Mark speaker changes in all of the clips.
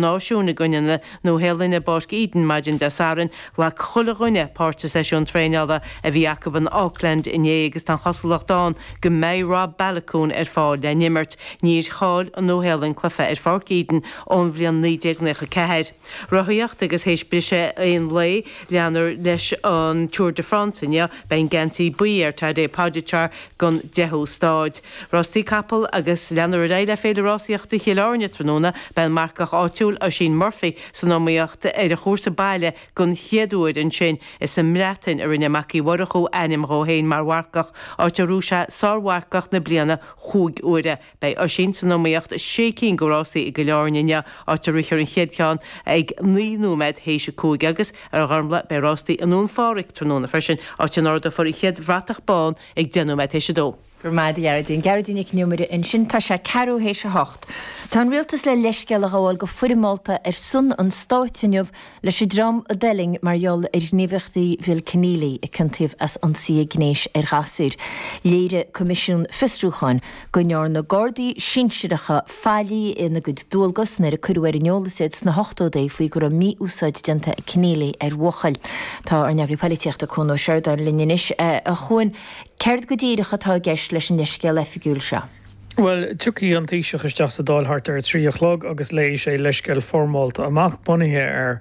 Speaker 1: Náisiúin i gcoinne na Nua-Shéalainne i bPáirc Eden maidin Dé Sathairn. Ghlac chuile dhuine páirt sa seisiún traenála a bhí acu in Auckland inné agus tá an chosúlacht ann go mbeidh Rob Baloucoune ar fáil le n-imirt. Níor chaill an Nua-Shéalainn cluiche ar Pháirc Eden ón bhliain 1994. Rothaíocht agus théis briseadh aon lae, leanfar leis an Tour de France inniu. Beidh an geansaí buí ar Tadej Pogacar don deichiú staid. Rástaí capall agus leanfar ar aghaidh le Féile Rásaíochta Chill Airne tráthnóna. Beidh an marcach áitiúil Oisín Murphy san iomaíocht ar an chúrsa baile don chéad uair ansin. Is sa mBreatain a rinne Mac Uí Mhurchú ainm dhó féin mar mharcach, áit a raibh sé sármharcach na bliana chúig huaire. Beidh Oisín san iomaíocht i sé cinn de rásaí i gCill Airne inniu, áit a rithfear an chéad cheann ag 9 nóiméad théis a 5 agus, ar Ghormfhlaith, beidh rástaí i nDún Phádraig tráthnóna freisin, áit a n-ardófar an chéad bhratach bán ag 10 nóiméad théis a 2.
Speaker 2: Go raibh maith agat, a Ghearóidín. Gearóidín Nic an Iomaire ansin. Tá sé ceathrú théis a hocht. Tá an Rialtas le leithscéal a ghabháil go foirmeálta ar son an Stáit inniu leis an dream a d'fhuiling mar gheall ar ghníomhaíochtaí Bhill Kenneally, a ciontaíodh as ionsaithe gnéis ar ghasúir. Léirigh Coimisiún Fiosrúcháin go ndearna Gardaí sinsearacha faillí ina gcuid dualgas nuair a cuireadh ar an eolas iad sna hochtóidí faoi go raibh mí-úsáid déanta ag Kenneally ar bhuachaill. Tá ár n-eagraí poilitíochta Cuan Ó Seireadáin linn anois. A Chuain, céard go díreach atá i gceist leis an leithscéal oifigiúil seo?
Speaker 3: Bhuel, tiocfaidh an Taoiseach isteach sa Dáil thart ar a 3 a chlog agus léifidh sé leithscéal foirmeálta amach, bunaithe ar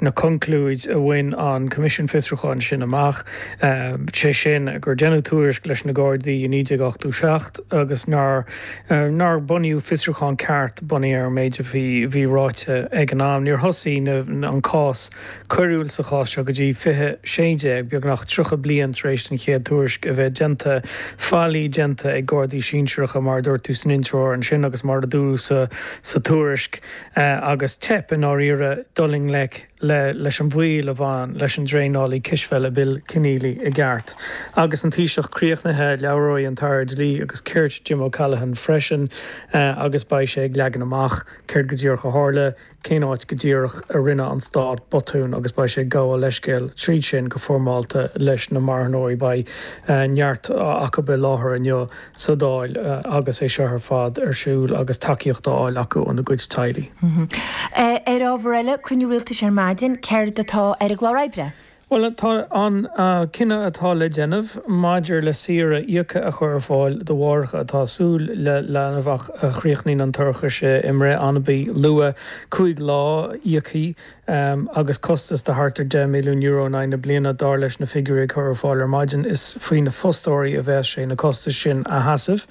Speaker 3: na conclúid a bhain an Coimisiún Fiosrúcháin sin amach, sé sin gur deineadh tuairisc leis na Gardaí i 1987 agus nár nár bunaíodh fiosrúchán ceart bunaithe ar an méid a bhí bhí ráite ag an am. Níor thosaigh an cás coiriúil sa chás seo go dtí 2016, beagnach 30 bliain tar éis don chéad tuairisc a bheith déanta. Faillí déanta ag Gardaí sinsearacha, mar a dúirt tú san intreoir ansin agus mar a dúradh sa tuairisc, agus teip i ndáiríre dul i ngleic leis an bhaol a bhain leis an dtraenálaí cispheile Bill Kenneally i gceart. Agus an Taoiseach críochnaithe, labhróidh an tAire Dlí agus Cirt Jim O'Callaghan freisin agus beidh sé ag leagan amach céard go díreach a tharla, cén áit go díreach a rinne an Stát botún agus beidh sé ag gabháil leithscéil tríd sin go foirmeálta leis na marthanóirí. Beidh neart acu i láthair inniu sa Dáil agus é seo ar fad ar siúl agus tacaíocht á fháil acu óna gcuid teaghlaigh.
Speaker 2: Ar ábhar eile, cruinniú rialtais ar maidin, céard atá ar an gclár oibre?
Speaker 3: Bhuel, tá an cinneadh atá le déanamh maidir le saoire íoctha a chur ar fáil do mháithreacha atá ag súil le leanbh ach a chríochnaíonn an toircheas i mbreith anabaí luath, 5 lá íoctha agus costas de thart ar €10 milliún in aghaidh na bliana, dar leis na figiúirí a cuireadh ar fáil ar maidin. Is faoi na fostóirí a bheas sé na costais sin a sheasamh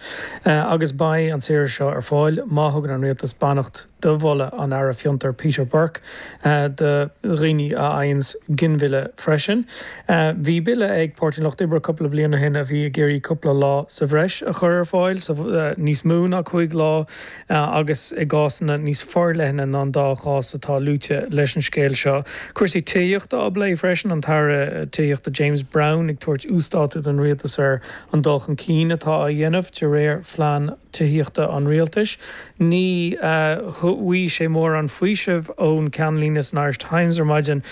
Speaker 3: agus beidh an tsaoire seo ar fáil má thugann an Rialtas beannacht do mholadh an Aire Fiontar Peter Burke do dhaoine a fhaigheanns ginmhilleadh freisin. Bhí bille ag Páirtí an Lucht Oibre cúpla bliain ó shin a bhí ag iarraidh cúpla lá sa bhreis a chur ar fáil, níos mó ná 5 lá agus i gcásanna níos forleithne ná an dá chás atá luaite leis an scéal seo. Cúrsaí tithíochta á bplé freisin, an tAire Tithíochta James Browne ag tabhairt uasdátú don Rialtas ar an dul chun cinn atá á dhéanamh de réir phlean tithíochta an rialtais. Ní bhfuair sé mórán faoisimh ón gceannlíne san Irish Times ar maidin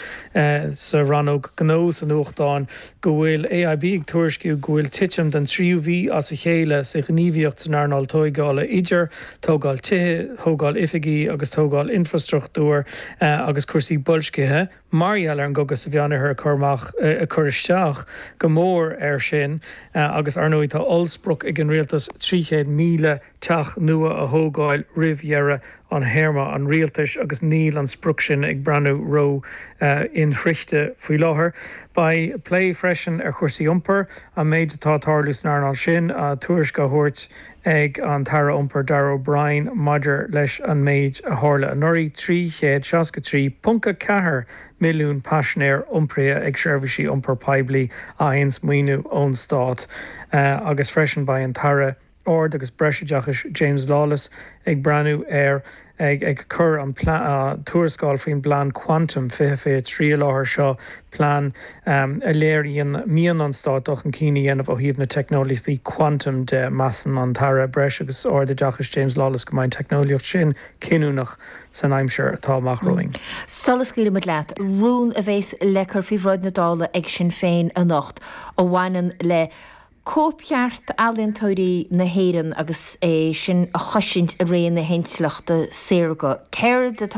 Speaker 3: sa rannóg gnó sa nuachtán go bhfuil AIB ag tuairisciú go bhfuil titim den tríú mhí as a chéile sa ghníomhaíocht san earnáil tóigeála idir tógáil tithe, thógáil oifigí agus tógáil infrastruchtúir agus cúrsaí boilscithe. mar gheall ar an gcogadh sa Mheánoirthear ag cur amach, ag cur isteach go mór air sin agus ar ndóigh tá ollsprioc ag an rialtas 300,000 teach nua a thógáil roimh dheireadh an théarma an rialtais agus níl an sprioc sin ag breathnú ró inshroichte faoi láthair. Beidh plé freisin ar chúrsaí iompair, an méid atá ag tarlú san earnáil sin, tuairisc á thabhairt ag an tAire Iompair Darragh O'Brien maidir leis an méid a tharla anuraidh, 363.4 milliún paisinéir iompraithe ag seirbhísí iompair poiblí a fhaigheanns maoiniú ón stát agus freisin beidh an tAire Ard agus Breisoideachais James Lawless ag breathnú ar ag ag cur an tuarascáil faoin bPlean Quantum 2023 i láthair. Seo plean a léiríonn mian an Stáit dul chun cinn a dhéanamh ó thaobh na teicneolaíochtaí quantum de. Measann an tAire Breis agus Ardoideachais James Lawless go mbeidh an teicneolaíocht sin cinniúnach san aimsir atá amach romhainn.
Speaker 2: Sula scaoilimid leat, rún a bhéas le cur faoi bhráid na Dála ag Sinn Féin anocht a bhaineann le cóipcheart ealaíontóirí na hÉireann agus é sin a chosaint i ré na hintleachta saorga. Céard atá.